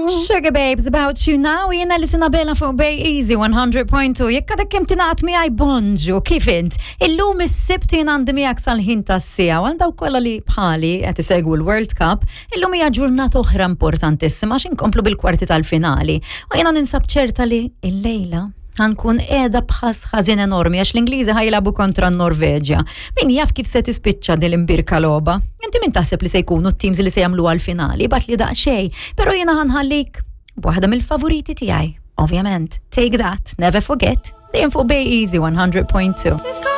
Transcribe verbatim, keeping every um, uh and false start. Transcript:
Sugar Babes About You Now, jiena li Sinabella fuq Bay Easy one hundred point two. Jekk għadek kemm tingħaqad miegħi, bonġu, kif int? Illum is-Sibt, jien għandi miegħek sal-ħin tas-siegħa, għal dawk kollha li bħali qed isegwu l-World Cup, illum hija ġurnata oħra importantissima għax inkomplu bil-kwarti tal-finali. U jiena ninsab ċerta li illejla ħa nkun qiegħda b'ħass ħażin enormi għax l-Ingliżi ħa jilagħbu kontra n-Norveġja. Min jaf kif se tispiċċa din l-imbierka logħba? Inti min taħseb li se jkunu t-teams li se jagħmlu għal-finali? Ibgħatli daqsxejn, però jiena ħa nħallik b'waħda mill-favoriti tiegħi. Ovvjament, Take That, Never Forget, dejjem fuq Bay Easy one hundred point two.